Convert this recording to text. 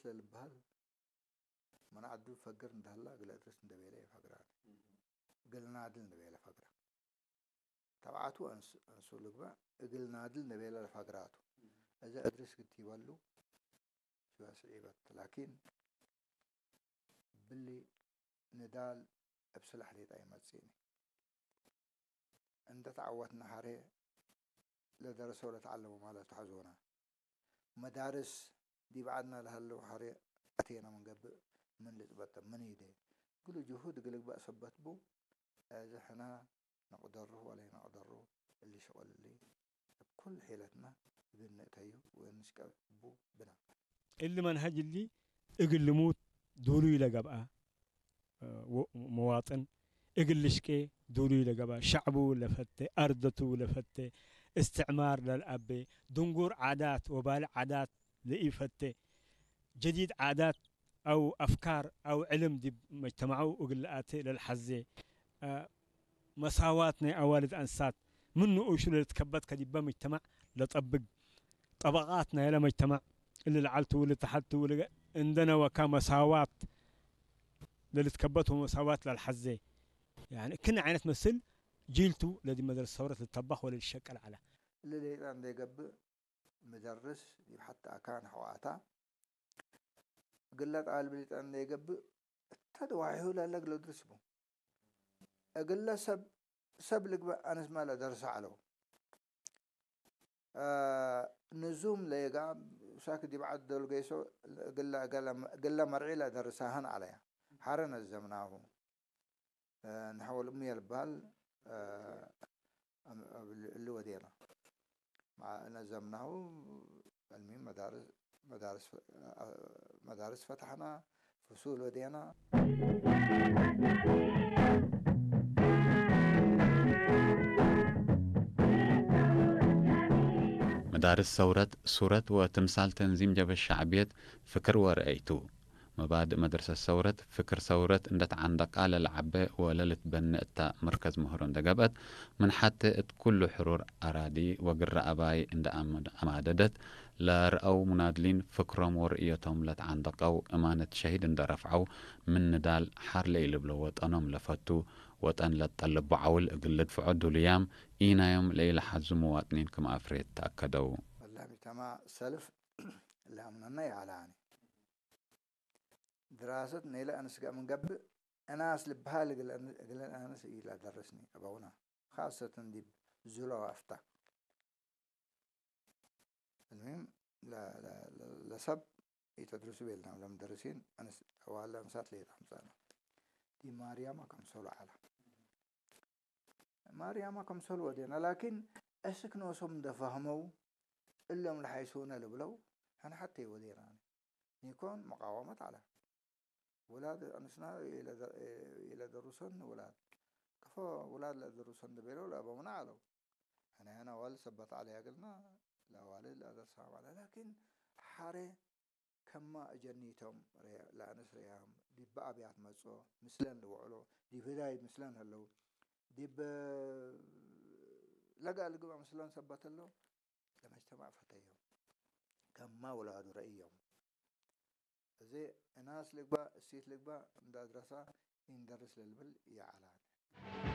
ለልበሃል መን ዓዱ ፈግር እንዳህላ እግል እድርስ እንደቤለ ይፈግራ። እግል ናድል እንደቤለ ፈግራ። ተብዓቱ ኣንሱ ልግባእ እግል ናድል እንደቤለ ለፈግራቱ። እዘ እድርስ ግት ይበሉ ሽዋ ስዒበት። ላኪን ብሊ ንዳል እብ ስላሕ ሌጣ ይመጽእኒ። እንደ ተዓወትና ሐሬ ለደረሰ ወለተዓለመ ማለት ተሐዞና። መዳርስ ዲብ ዓድና ለሀለው ሐሬ ኣቴና ምንገብእ ምን ልጽበጠ ምን ይደ። ግሉ ጅሁድ እግል ግባእ ሰበት ቡ። እዚ ሕና ነቅደሩ ወለይነቅደሩ እሊ ሸቅል እሊ እብ ኩል ሒለትና እግል ንእተዩ ወንስቀቡ ብና። እሊ መንሀጅ እሊ እግል ልሙት ዱሉይ ለገብአ፣ እ፣ ወ-፣ መዋጥን እግል ልሽቄ ዱሉይ ለገብአ፣ ሸዕቡ ለፈቴ፣ አርደቱ ለፈቴ፣ እስትዕማር ለልአቤ፣ ድንጉር ዓዳት ወባሊ ዓዳት ለኢፈቴ፣ ጀዲድ ዓዳት አው አፍካር አው ዕልም ዲብ መጅተማዑ እግል ለአቴ ለልሐዜ፣ አ፣ መሳዋት ናይ አዋልድ አንሳት ምን ንኡሹ ለልትከበት ከዲበ መጅተማዕ ለጠብግ፣ ጠበቃት ናይለ መጅተማዕ እሊ ለዓልቱ ወለተሐቱ ወለ እንደነ ወካ መሳዋት ለልትከበት ወመሳዋት ለልሐዜ፣ ያኒ ክን ዓይነት መስል ጂልቱ ለዲ መድረሰ ሰውረት ልተባኽ ወለልሸቀል ዐለ። እሊ ሌጣ እንዴ ገብእ ምደርስ ዲብ ሐቲ አካን ሐዋታ እግለ ጣልብ ሊጠን ለይገብእ እተ ደዋሒሁ ለለ እግለ ድርስ ቡ። እግለ ሰብ፣ ሰብ ልግበእ አነስ ማ ለደርሰ ዐለው። አ፣ ንዙም ለየጋ ሳክ ዲብ ዐድ ዶል ገይሶ እግለ፣ እግለ መርዒ ለደርሳህን ዐለያ። ሐረ ነዘምናሁ። እ፣ ንሐወል እምየ ልበሃል፣ እ፣ እም-፣ እብ-፣ እሊ ወዴና። መዓ ነዘምናሁ፣ አልሚም መዳርስ፣ መዳርስ ፈ-፣ አ-፣ መዳርስ ፈታሕና፣ ፍሱል ወዴና። መዳርስ ሰውረት፣ ሱረት ወትምሳል ተንዚም ጀብሀት ሸዕብየት፣ ፍክር ወረአይቱ። መባድእ መድረሰት ሰውረት፣ ፍክር ሰውረት እንደ ተዓንደቃ ለለዓበ ወለልትበነ እታ መርከዝ ምህሮ እንደ ገብአት፣ ምን ሐቴ እት ኩሉ ሕሩር አራዲ ወግረ አባይ እንደ አም-፣ አማደደት፣ ለረአው ሙናድሊን ፍክሮም ወርእዮቶም ለተዓንደቀው እማነት ሸሂድ እንደ ረፍዐው፣ ምን ንዳል ሐር ለኢልብሎ ወጠኖም ለፈቱ፣ ወጠን ለትጠልቦ ዐውል እግል ልድፍዖ ዱሉያም ኢናዮም ለኢለሐዙ መዋጥኒን ክም አፍሬት ተአከደው። ወላሂ ሙጅተማዕ ሰልፍ ለአምነና ይአላኒ። ድራሰት ነይለ አንስ ገ-፣ ምን ገብእ፣ እናስ ልብሃል እግል አን-፣ እግል አንስ ኢላ ደረስኒ አበውና። ካሰተን ዲብ ዙሎ አፍታ። المهم ለ-፣ ለ-፣ ለ-፣ ለሰብ ኢተድርሱ ቤልና ለምደርሲን አንስ ዋላ አንሳት ለየት አምጻና። ዲ ማርያማ ከምሰሉ ዐላ። ማርያማ ከምሰሉ ወዴና፣ ላኪን እስክ ኖሶም እንደ ፈህመው እሎም ለሓይሱነ ልብለው፣ ሕነ ሐቴ ወዴና። ኒኮን መቃወመት ዐላ። ውላድ አንስና ኢለደ-፣ ኢለደሩሰን ውላድ። ከፎ ውላድ ለደሩሰን እንደ ቤለው ለአበውና ዐለው። ሕነ ሕነ አዋልድ ሰበት ዐለያ እግልና ለአዋልድ ለአደርሳ ማለት። ላኪን ሐሬ ከማ እጀኒቶም ርያ-፣ ለአንስ ርያም፣ ዲብ አብያት መጽኦ፣ ምስለን ልውዕሎ፣ ዲብ ህዳይ ምስለን ህለው፣ ዲብ ለጋ ልግበእ ምስለን ሰበት ህለው፣ ለመጅተማዕ ፈተዮም። ከማ ውላዱ ረእዮም። እዚ እናስ ልግባእ፣ እሲት ልግባእ፣ እንደ አድረሳ ኢንደርስ ለልብል ይዐላል።